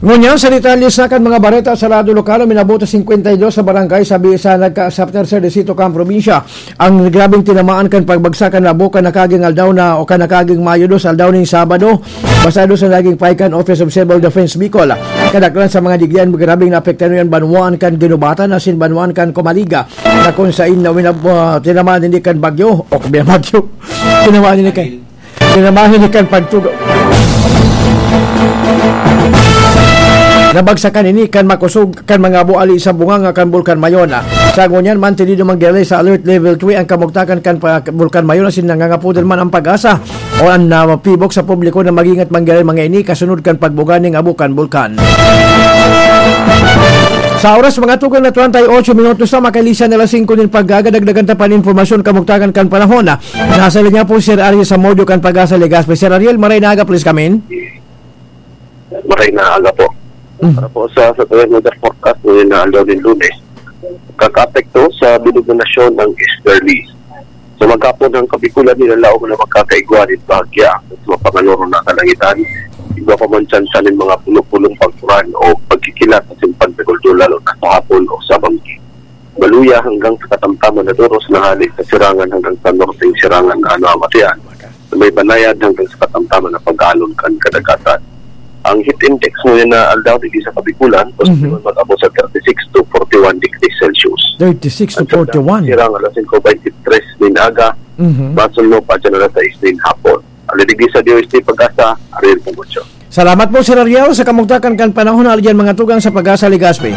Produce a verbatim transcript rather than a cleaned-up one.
Ngunyan, sa detalye sa kan mga bareta sa lado lokal, minabot sa singkwenta y dos sa barangay sa Bisa nagka sa Tercer Distrito kan probinsya. Ang grabeng tinamaan kan pagbagsak kan labo kan nakaging aldaw na o kan nakaging Mayo dos, aldaw ning Sabado, basado sa naging pahayag kan Office of Civil Defense Bicol. Kadaklan sa mga digdian, grabeng naapektahan an banwaan kan Ginubatan asin banwaan kan Comaliga, na kung sain na winab-, ah, tinamaan ini kan bagyo o kabinabagyo. Tinamaan ini kan Kinamahin ni kan pagtugo. Nabagsakan ini kan makosog kan mga buali sa bunganga kan Bulkan Mayona. Sa ngunyan, mantenido man giraray sa Alert Level three ang kamugtakan kan pa-, Bulkan Mayona, asin nangangapodel man ang PAGASA o ang, ah, PHIVOLCS sa publiko na mag-ingat man giraray mga ini kasunod kan pagbuga ning abo kan bulkan. Sa oras, mga tugang, na treinta y ocho minutos na, makailisan na alas singko nin pagkaaga, dagdagan ta pa nin impormasyon kamugtakan kan panahon. Nasa linya po si Sir Ariel Zamudio kan PAGASA Legazpi. Sir Ariel, maray na aga, please come in. Maray na aga po. Mm. Para po sa, sa weather forecast ngayon na aldaw nin Lunes, kakaapekto sa bilog na nasyon ang easterlies. Sa maghapon, ang Kabikulan nilalaog na magkakaigwa nin bahagya sa mga panganoron na kalangitan. Igwa pa man tsansa nin mga pulo-pulong pagkuran o pagkikilat asin pagdaguldo, lalo na sa hapon o sa banggi. Maluya hanggang sa katamtaman na doros na hale sa sirangan hanggang sa norteng sirangan na namamatian, na may banayad hanggang sa katamtaman na pag-alon kan kadagatan. Ang heat index ngayon na aldaw digdi sa Kabikulan, Mhm. posibleng mag-abot sa thirty-six to forty-one degrees Celsious. Thirty-six to Ang siyudad forty-one. Sirang alas singko beintitres nin aga, Mhm. Masunod pa dyan alas sais nin hapon. Ang digdi sa D O S T PAGASA, Ariel Pongocho. Salamat po, Sir Ariel, sa kamugtakan kan panahon na aliyan mga tugang sa PAGASA Legazpi.